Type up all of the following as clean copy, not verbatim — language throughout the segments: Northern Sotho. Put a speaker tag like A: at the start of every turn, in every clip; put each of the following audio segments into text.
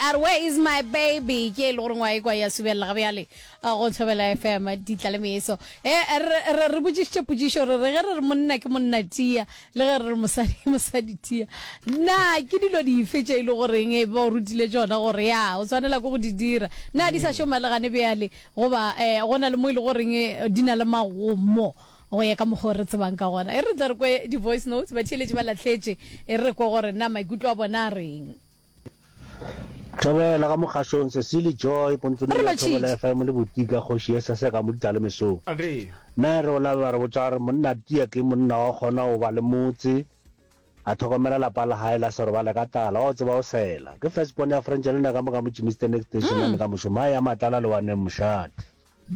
A: A re where is my baby? Ke e le gore ngwa e kwa ya subelela ga bjale go Thobela FM ditla le meso. E re re re botšišitše potšišo re re ge re re monna ke monna tia le ge re re mosadi ke mosadi tia. Na ke dilo dife tše e le goreng e ba o rutile tšona gore ya o tshwanela ke go di dira? Na di sa šoma le gane bjale goba eh, go na le mo e le goreng di na le magomo? Go ya ka mokgwa o re tsebang ka gona, e re tle re kwe di-voice notes, batheeletši ba lahletše, e re re kwe gore na maikutlo a bona a reng.
B: Thobela ka mokgašong, Cecily Joy, Pontsoneng
A: Re
B: ya Thobela
A: lotšhitše.
B: FM le Botika Kgoši ye Sese ka mo Ditlalemesong. Nna re o labe ba re botša gore monna tia ke monna wa kgona go ba le motse, a thokomela lapa la hae la se robale ka tlala, wa o tseba o sela. Ke first born ya Frangelina ka mo ka mo Germiston Extension ane ka mošomo, hae ya Matlala Lewaneng Mošate.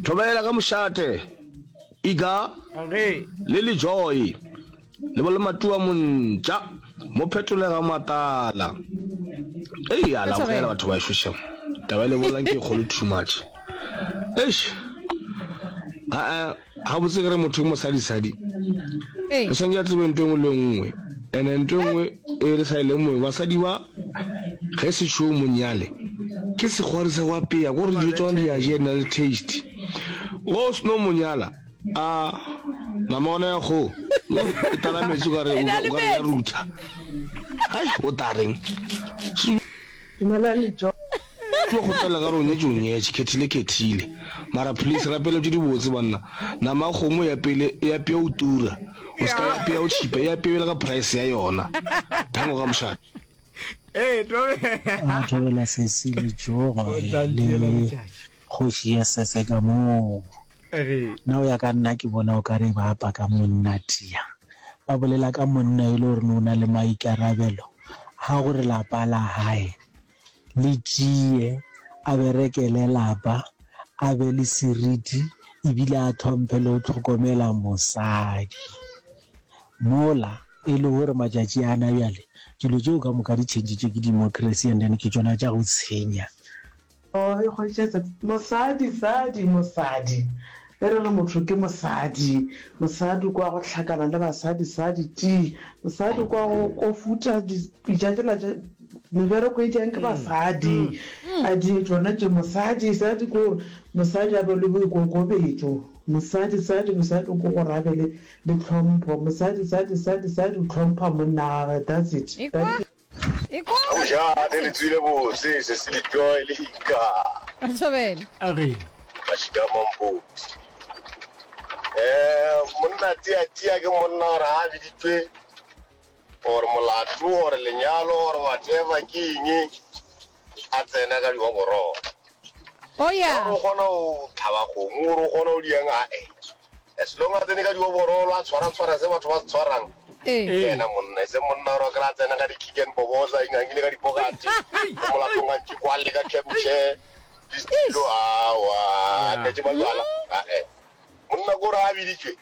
C: Thobela ka mošate, Iga le Lejoe le bo le Matua Montša mo phetolega matala. Ei, a la bogela batho ba ešo shem. Taba e le bolelang ke e kgolo too much. Eish. A-a, gabotse ke re motho ke mosadisadi. Re swanetše a tsebe ntho e nngwe le e nngwe. Ene ntho e nngwe e re sa e lemoge, basadi ba ge setšo monyale ke sekgwari sa go apea, ko re dijo tša gona di a jea di na le taste. Ge o seno monyala, a nama gona ya kgogo e tlala metsi o ka re o ka re ya rutha. Hai, o tla reng?
D: Dumelang le
C: Tlo kgopela ka re o nyetše o nyetše, khethile khethile. Mara please rapela tše di botse banna. Nama ya kgomo ya pele e apea o tura. O ska ya apea o tšhipa, e apea bjale ka price ya yona. Thango ka mošate.
E: A thobela sesi le tšogo le kgoši ya sese ka moo. Nna go ya ka nna ke bona o ka re ba apa ka monna tia. Ba bolela ka monna e le gore o na le maikarabelo a gore lapa la hae le tšee, a berekele lapa, a be le seriti ebile a tlhomphe le go tlhokomela mosadi. Mola e le gore matšatši ana bjale dilo tšeo ka moka di tšhentšitšwe ke democracy and then ke tšona tša go tshenya.
D: Oh, e hwetša mosadi, sadi, mosadi. Ge re re motho ke mosadi, mosadi kwa go hlakana le basadi, sadi, ti. Mosadi kwa go kofuta dipitša tšela tša mebereko e tšang ke basadi, a di tšona tše. Mosadi, sadi ke gore mosadi a be le boikokobetšo. Mosadi, sadi, mosadi ke gore a be le, le tlhompho. Mosadi, sadi, sadi, sadi o hlompha monna wa gagwe. That's it.
A: Ekwa.
F: Mošate le tswile bose sesi le joy le ika.
A: Thobela.
G: A re.
F: Mašika a mampoti. Eh monna tia tia ke monna gore a biditšwe gore molato gore lenyalo gore whatever ke eng a tsena ka dioborolo.
A: Oh yeah.
F: Gore o kgona go tlhaba kgomo gore o kgona go diang a eh. As long a tsene ka dioborolo a tshwara tshwara se batho ba se tshwarang.
A: Ee.
F: Ke yena monna, e seng monna gore o kry-a tsena ka di-kick and boboza, ingangile ka dipokate, mo molatong a ntše kwalle ka camp chair, le setilo, aowa, a tletše majwala, ae. Monna ke gore a biditšwe.